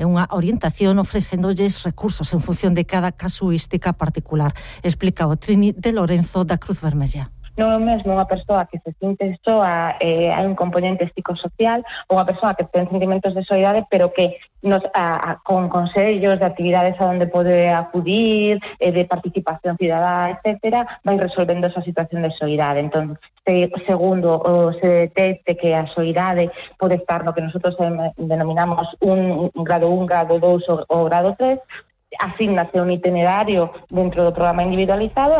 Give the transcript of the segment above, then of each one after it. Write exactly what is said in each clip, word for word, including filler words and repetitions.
e unha orientación ofrecéndolles recursos en función de cada casuística particular, explica o Trini de Lorenzo da Cruz Vermella. Non é o mesmo unha persoa que se sinte soa, eh, hai un componente psicosocial, ou unha persoa que ten sentimentos de soidade, pero que nos a, a, con consellos de actividades a onde pode acudir, eh, de participación cidadá, etcétera, vai resolvendo esa situación de soidade. Entón, se, segundo, o se detecte que a soidade pode estar no que nosotros denominamos un, un grado un, grado dous ou, ou grado tres, asignase un itinerario dentro do programa individualizado.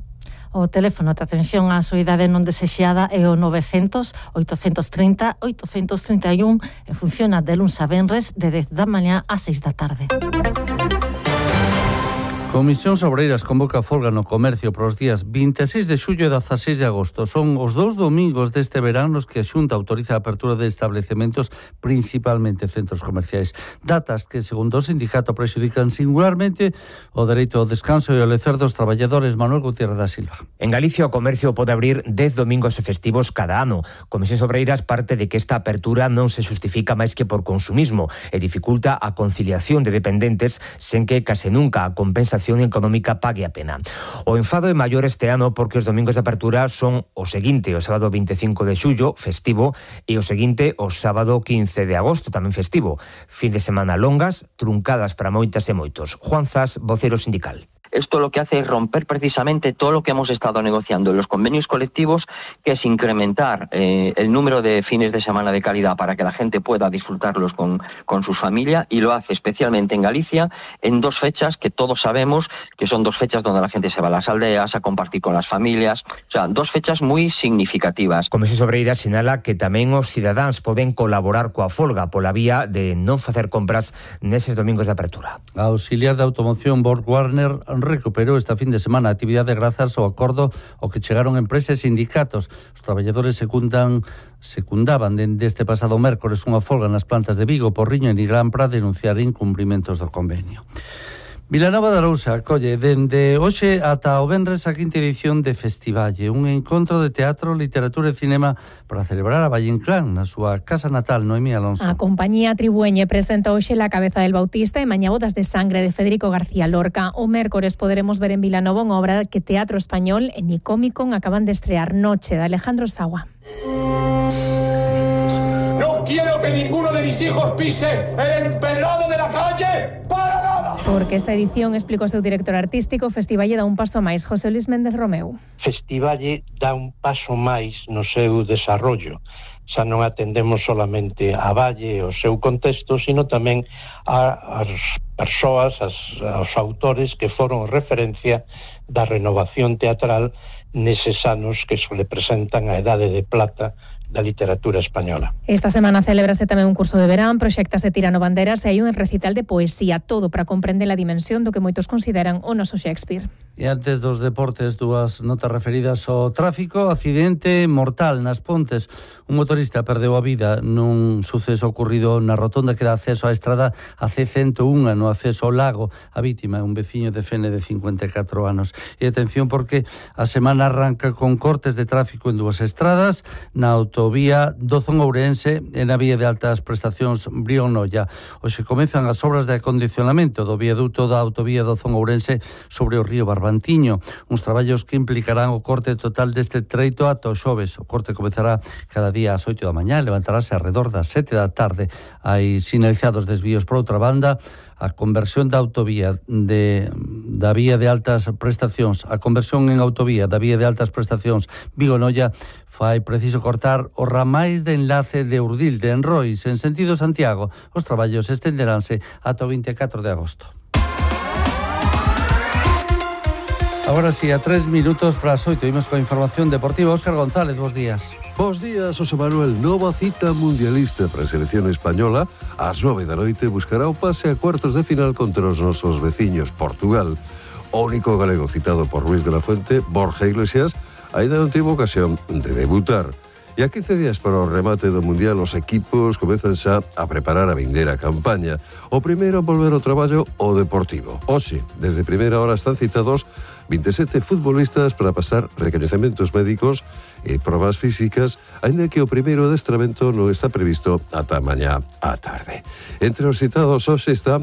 O teléfono de atención á soidade non desexada é o novecientos, oitocentos trinta, oitocentos trinta e un e funciona de luns a venres de dez da mañá a seis da tarde. Comisións Obreiras convoca folga no comercio para os días vinte e seis de xullo e dezaseis de agosto. Son os dous domingos deste verán nos que a Xunta autoriza a apertura de establecementos, principalmente centros comerciais. Datas que, segundo o sindicato, prexudican singularmente o dereito ao descanso e ao lecer dos traballadores. Manuel Gutiérrez da Silva. En Galicia o comercio pode abrir dez domingos e festivos cada ano. Comisións Obreiras parte de que esta apertura non se justifica máis que por consumismo e dificulta a conciliación de dependentes sen que case nunca a compensación económica pague a pena. O enfado é maior este ano porque os domingos de apertura son o seguinte, o sábado vinte e cinco de xullo, festivo, e o seguinte, o sábado quince de agosto, tamén festivo. Fin de semana longas, truncadas para moitas e moitos. Juan Zas, vocero sindical. Esto lo que hace es romper precisamente todo lo que hemos estado negociando en los convenios colectivos, que es incrementar eh, el número de fines de semana de calidad para que la gente pueda disfrutarlos con, con su familia, y lo hace especialmente en Galicia en dos fechas que todos sabemos que son dos fechas donde la gente se va a las aldeas a compartir con las familias, o sea, dos fechas muy significativas. Comisións Obreiras sinala que tamén os cidadáns poden colaborar coa folga pola vía de non facer compras neses domingos de apertura. A auxiliar de automoción Borg Warner recuperou esta fin de semana a actividade grazas ao acordo ao que chegaron empresas e sindicatos. Os traballadores secundan, secundaban dende este pasado mércores unha folga nas plantas de Vigo, Porriño e Nigrán para denunciar incumprimentos do convenio. Vilanova de Arousa acolle dende hoxe ata o venres a quinta edición de Festivalle, un encontro de teatro, literatura e cinema para celebrar a Valle Inclán na súa casa natal. Noemí Alonso. A compañía Tribueñe presenta hoxe La cabeza del Bautista e mañá Bodas de sangre de Federico García Lorca. O mércores poderemos ver en Vilanova unha obra que Teatro Español e Micómicon acaban de estrear, Noche, de Alejandro Sagua. No quiero que ninguno de mis hijos pise el empedrado de la calle para nada. Porque esta edición, explicou o seu director artístico, Festivalle dá un paso máis. José Luis Méndez Romeu. Festivalle dá un paso máis no seu desarrollo. Xa non atendemos solamente a Valle e o seu contexto, sino tamén a, as persoas, as, aos autores que foron referencia da renovación teatral neses anos que se le presentan a Edade de Plata da literatura española. Esta semana celebrase tamén un curso de verán, proxectase Tirano Banderas e hai un recital de poesía, todo para comprender a dimensión do que moitos consideran o noso Shakespeare. E antes dos deportes, dúas notas referidas ao tráfico. Accidente mortal nas Pontes. Un motorista perdeu a vida nun suceso ocurrido na rotonda que dá acceso á estrada a C ciento un no acceso ao lago. A vítima é un veciño de Fene de cincuenta e catro anos. E atención porque a semana arranca con cortes de tráfico en dúas estradas, na autovía Dozón-Ourense e na vía de altas prestacións Brión-Noia. Hoxe comezan as obras de acondicionamento do viaduto da autovía Dozón-Ourense sobre o río Barbantiño, uns traballos que implicarán o corte total deste treito ata o xoves. O corte comezará cada día ás oito da mañá e levantarase alrededor das sete da tarde. Hai sinalizados desvíos. Por outra banda, a conversión da autovía de, da vía de altas prestacións, a conversión en autovía da vía de altas prestacións Vigo-Noia fai preciso cortar os ramais de enlace de Urdil de Enrois en sentido Santiago. Os traballos estenderánse ata o vinte e catro de agosto. Agora sí, a tres minutos para as oito, imos coa información deportiva. Óscar González, bos días. Bos días, José Manuel. Nova cita mundialista para a selección española. Ás nove da noite buscará o pase a cuartos de final contra os nosos veciños, Portugal. O único galego citado por Luis de la Fuente, Borja Iglesias, aínda non tivo ocasión de debutar. E a quince días para o remate do Mundial, os equipos comezan xa a preparar a vindeira campaña. O primeiro a volver ao traballo, o Deportivo. Hoxe, desde primeira hora están citados vinte e sete futbolistas para pasar recoñecementos médicos e probas físicas, aínda que o primeiro adestramento non está previsto ata mañá á tarde. Entre os citados hoxe están